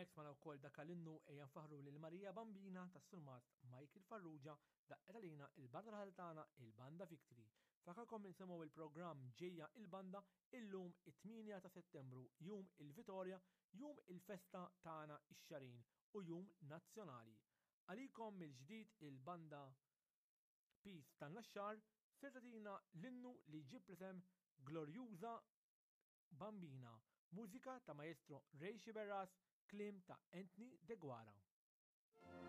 Barra minn hekk smajna wkoll dak l-innu Ejja Nfaħħru lil Marija Bambina tas-Surmast Michael Farrugia daqqet għalina il-banda raħal tagħna il-Banda Victory. Fakarkom nisimgħu il-programm Ġejja il-Banda illum it-8 ta' Settembru, jum il-Vitorja, jum il-festa tagħna ix-Xarin u jum nazzjonali. Għalikom mill-ġdid il-Banda Peace tan-Naxxar ser tagħtina l-innu li jġib l-isem Glorjuża Bambina, mużika ta' Maestro Ray Sciberras, kliem ta' Anthony Deguara.